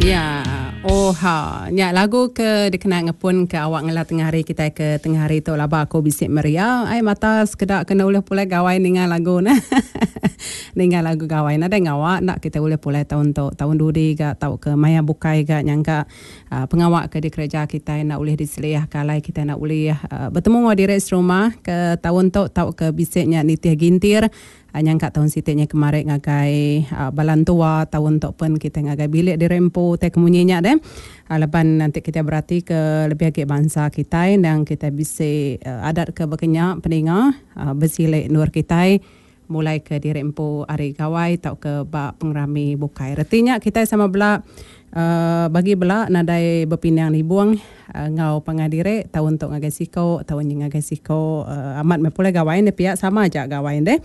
Ya, oha. Nya lagu ke dikena ngepun ke awak ngela tengah hari kitai ke tengah hari tu laba aku bisi meria ai mata sekeda kena ulih pulai gawai ninga lagu ne. Ninga lagu gawai nadai ngawa enda kitai ulih pulai taun tu, taun dudi ga tauka maya bukai ga nyangka pengawa ke dikereja kitai enda ulih diseliah ke alai kitai enda ulih betemu enggau diri serumah ke taun tu tauka bisi nya nitih gintir Nyangka taun siti nya kemari ngagai bala entua taun tu pen kitai ngagai bilik diri empu tai ke munyi nya deh. Laban enti kitai berati ke lebih agi bansa kitai endang kitai bisi adat ke baka nya peninga besile endur kitai mulai ke diri empu ari gawai tauka ba pengerami bukai. Reti nya kitai sama bela bagi bela nadai bepinang nibung enggau pangan diri taun tu ngagai siko taun nyin ngagai siko amat meh pulai gawai ne pia sama aja gawai deh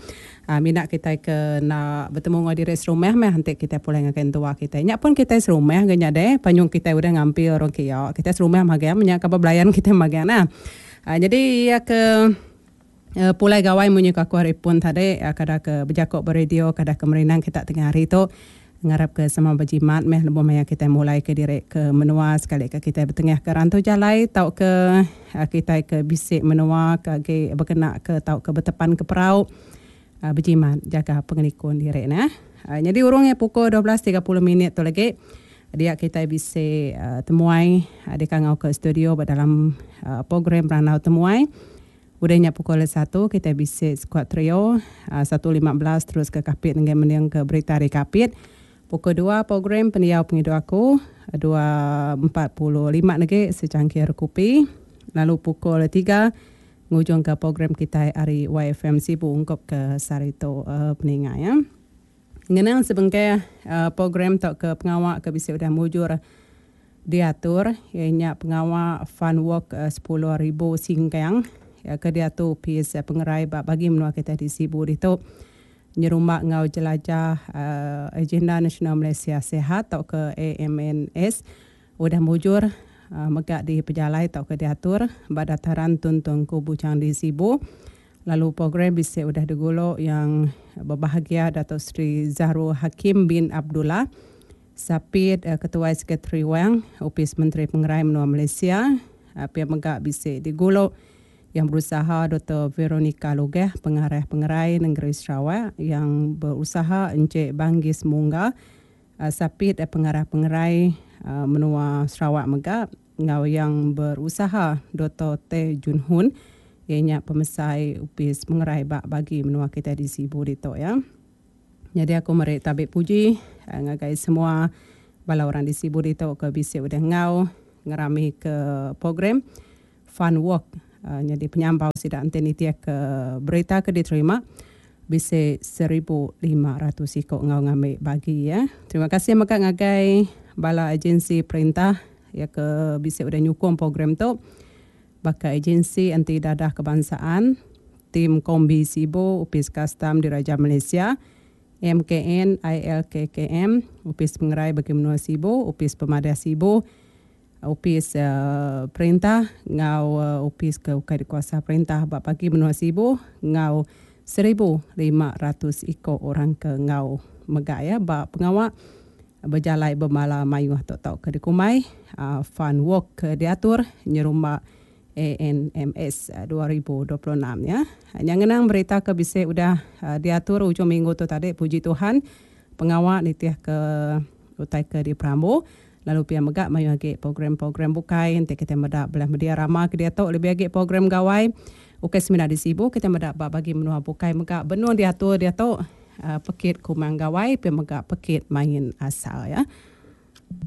mina kitai ke enda betemu enggau diri serumah meh enti kitai pulai ngagai entua kitai nya pun kitai serumah ga nya deh panyung kitai udah ngampi orang kia kitai serumah magang meh nya kaban belayan kitai magang nah jadi iya ke pulai gawai munyi ku aku hari pun tadi kada ke bejako ba radio kada ke merindang kita tengah hari tu ngarap ke sama bejimat meh lebuh maya kitai mulai ke diri ke menua sekali ke kitai betengah ke rantu jalai tauka kitai ke bisi menua ke agi bekena ke tauka betepan ke perau bejimat jaga pengelikun diri neh. Nyadi urung iya pukul 12.30 minit tu lagi dia kitai bisi temuai dikangau ke studio ba dalam program randau temuai. Udah nya pukul satu kitai bisi skuad trio, 1.15 terus ke Kapit enggai mending ke berita ari Kapit. Pukul dua program pendiau pengidup aku, 2.45 negi secangkir kupi lalu pukul tiga ngujung ke program kitai ari YFM Sibu ungkup ke sehari tu peninga iya. Ngenang sebengkah program tauka pengawa ke bisi udah mujur Diatur iya nya pengawa Fun Walk 10,000 Singkang ke diatu Opis Pengerai ba bagi menua kitai di Sibu ditu nyerumba enggau jelajah Agenda Nasional Malaysia Sihat tauka AMNS udah mujur mega dipejalai tauka diatur ba Dataran Tun Tuanku Bujang di Sibu lalu program bisi udah digulu Yang Berbahagia Dato Sri Zahrul Hakim bin Abdullah. Sapit Ketuai Sekretari Wang, Opis Menteri Pengerai Menua Malaysia, pia mega bisi digulu Yang Berusaha Doktor Veronica Lugeh, Pengarah Pengerai Nengeri Sarawak, Yang Berusaha Encik Banggis Mungga, Sapit Pengarah Pengerai Menua Sarawak mega enggau Yang Berusaha Doktor Teh Jun Hoon iya nya Pemesai Opis Pengerai ba bagi menua kitai di Sibu ditu iya. Nyadi aku meri tabi puji ngagai semua bala orang di Sibu ditu ke bisi udah enggau ngerami ke program Fun Walk nyadi penyampau sida enti nitih ke berita ke diterima bisi 1500 iku enggau ngambi bagi ya. Terima kasih mega ngagai bala agensi perintah iya ke bisi udah nyukung program tu. Baka Agensi Anti Dadah Kebangsaan, Tim Kombi Sibu, Opis Kastam Diraja Malaysia, MKN, ILKKM, Opis Pengerai Bagi Menua Sibu, Opis Pemadah Sibu, Opis Perintah enggau opis ke ukai dikuasa perintah ba Bagi Menua Sibu enggau 1500 iko orang ke enggau mega iya ba pengawa Bejalai bebala mayuh tu tauka dikumbai Fun Walk ke diatur nyerumba ANMS 2026 nya. Nya ngenang berita ke bisi udah diatur ujung minggu tu tadi puji Tuhan pengawa nitih ke utai ke diperambu lalu pia mega mayuh agi program-program bukai enti kitai meda belah media rama ke diatu lebih agi program gawai ukai semina di Sibu kitai meda ba bagi menua bukai mega benung diatur diatu. Pekit Kumang Gawai pia mega pekit main asal ya.